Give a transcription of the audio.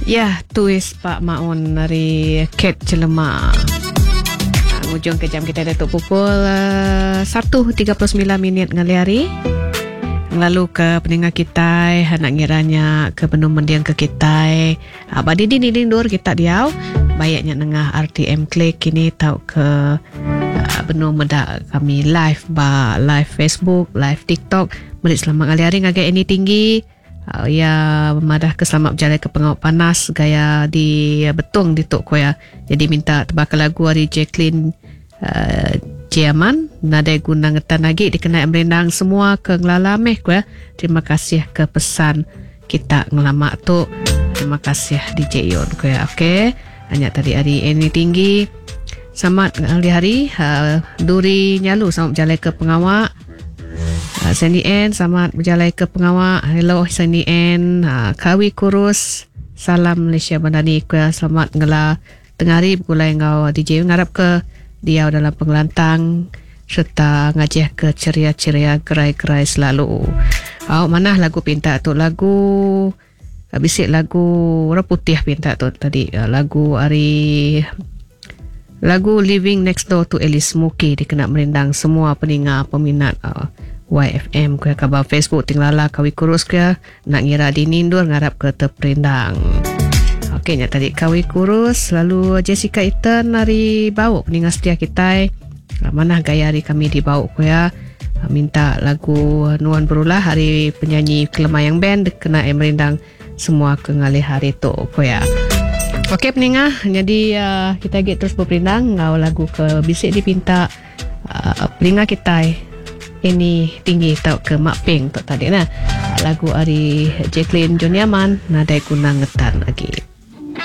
Ya, tuis Pak Maun ari Kate Chelema. Ngujung ke jam kita diatu pukul 1.39 minit ngalih hari. Ngelalu ke peninga kitai anak ngira nya ke benung mending ke kitai. Ba dini dini endur kita diau baik nya nengah RTM Click kini tauka benung meda kami live ba live Facebook, live TikTok. Meri selamat ngalih hari ngagai Annie Tinggi. Iya madah ke selamat bejalai ke pengawa panas gaya di Betong ditu ku iya. Jadi minta tebaka lagu ari Jacqueline uh, Jiaman nadai guna ngetan agi dikena merindang semua ke ngelala meh ku iya. Terima kasih ke pesan kita ngelama tu. Terima kasih DJ Yon ku iya. Okey. Nya tadi ari Annie Tinggi. Selamat ngalih hari uh, Duri Nyalu selamat bejalai ke pengawa. Uh, Sandy Ann selamat bejalai ke pengawa. Hello Sandy Ann. Uh, Kawi Kurus. Salam Malaysia Bandani ku ya. Selamat ngela tengah hari begulai enggau DJ ngarap ke diau dalam pengelantang serta ngajih ke ceria-ceria gerai-gerai selalu. Au manah lagu pinta tu lagu Bisi lagu orang putih pinta tu tadi lagu ari lagu Living Next Door to Alice Smokey dikena merindang semua peninga peminat YFM ke kabar Facebook ti ngelala kawi kurus ke nak ngira dini endur ngarap ke terperindang. Okey nya tadi kawi kurus lalu Jessica Ethan ari Bau peninga setia kitai. Manah gaya hari kami di Bau ku ya. Minta lagu Nuan Berulah ari penyanyi Kelemayang Band kena eh merindang semua ke ngalih hari tu ku ya. Okey peningah, jadi uh, kita agi terus beperindang enggau lagu ke bisi dipinta uh, peninga kitai ini tinggi tau ke mak ping tu tadi nah. Lagu ari Jacqueline Juniaman nadai guna ngetan agi.